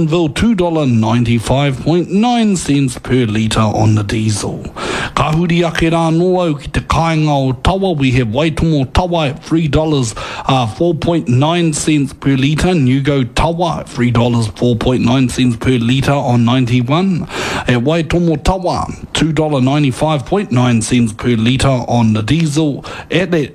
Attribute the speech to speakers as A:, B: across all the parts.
A: Ville $2.95.9 cents per litre on the diesel. Ka huri ake rā anō au ki te kāinga o Tawa, we have Waitomo Tawa at $3 uh, 4.9 cents per litre, Newgo Tawa at $3 4.9 cents per litre on 91. At Waitomo Tawa, $2.95.9 cents per litre on the diesel. At that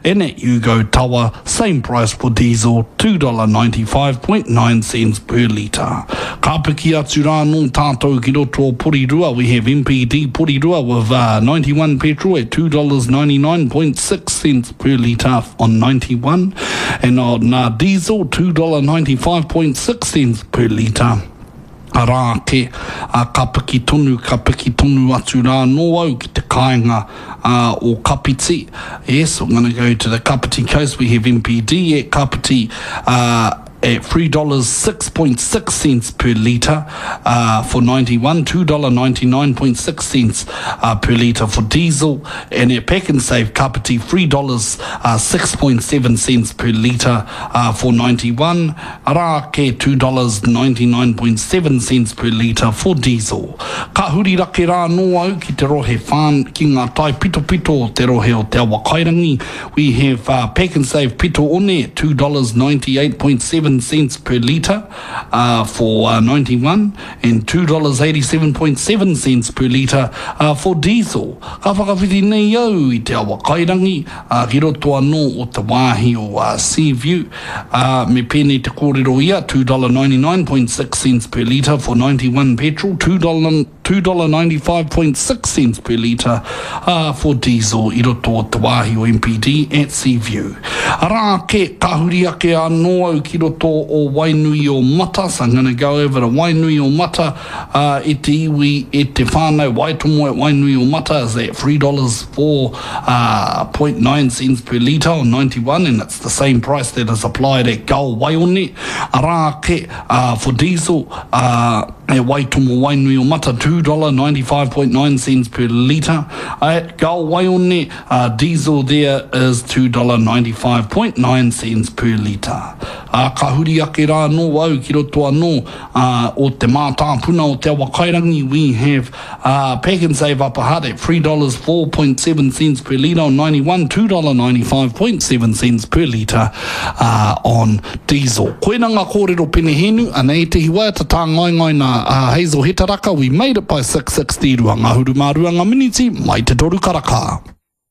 A: And at Ugo Tawa, same price for diesel, $2.95.9 per litre. Ka piki atu rā anō tātou ki roto o Porirua, we have MPD Porirua with uh, 91 petrol at $2.99.6 per litre on 91, and on uh, diesel, $2.95.6 per litre. Arā ake, ā, ka piki tonu, ka piki tonu atu rā anō au ki te kāinga, ā, o Kapiti. Yes, I'm gonna go to the Kapiti coast, we have MPD at Kapiti, ā, at $3.06.6 per litre, ā, for 91, $2.99.6, ā, per litre for diesel, and at Pak'nSave Kapiti, $3.06.7 per litre, ā, for 91, Arā ake $2.99.7 per litre for diesel. Ka huri rake rā anō au ki te rohe whān, ki ngā tae pitopito o te rohe o Te Awakairangi. We have uh, Pak'nSave Pito One, $2.98.7 per litre uh, for uh, 91 and $2.87.7 per litre uh, for diesel. Ka whakawhiti nei au i Te Awakairangi uh, ki roto anō o te wāhi o uh, Seaview. Ā, me pēnei te kōrero ia, $2.99.6 per litre for 91 petrol, $2.95.6 per litre, ā, for diesel i roto o te wāhi o MPD at Seaview. Arā ake, ka huri ake anō au ki roto o Wainuiomata, so I'm gonna go over to Wainuiomata, ā, e te iwi, e te whānau, Waitomo at Wainuiomata is at $3.4.9 cents per litre on 91 and it's the same price that is applied at Gull Waione, arā ake, ā, for diesel, ā, e Waitomo Wainuiomata, $2.95.9 cents per litre. At Gull Waione, ā, diesel there is $2.95.9 cents per litre. Ā, ka huri ake rā anō au ki roto anō, ā, o te mātāpuna o Te Awakairangi, we have Uh, Pak'nSave Upper Hutt at $3.47 cents per litre on 91, $2.95.7 cents per litre uh, on diesel. Koina ngā kōrero penehēnu, anei te hiwaiata tāngaengae nā uh, Hazel Hetaraka, we made it by 6.60, rua ngahuru mā rua ngā miniti, mai te toru karaka.